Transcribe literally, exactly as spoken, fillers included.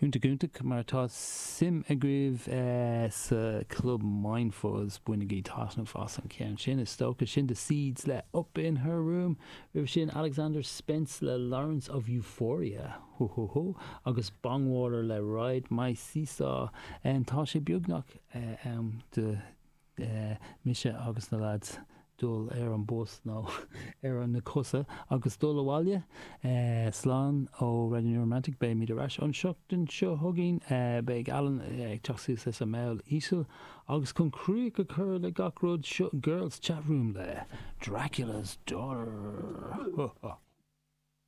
Iontach iontach má tá suim agaibh sa Club Mindfuzz bainigí taitneamh as an ceann sin is dócha sin The Seeds le Up in Her Room, roimh sin Alexander Spence le Lawrence of Euphoria ho ho ho agus Bongwater le Ride My Seesaw. Tá sé beagnach am do mise agus na lads dul ar an bus nó ar na cosa agus dul abhaile. Slán ó Radio New Romantic beimid ar ais an seachtain seo chugainn beidh Alan ag teacht suas leis an mball íseal agus chun críoch a chur le gach rud seo Girls Chat Room le Dracula's Daughter.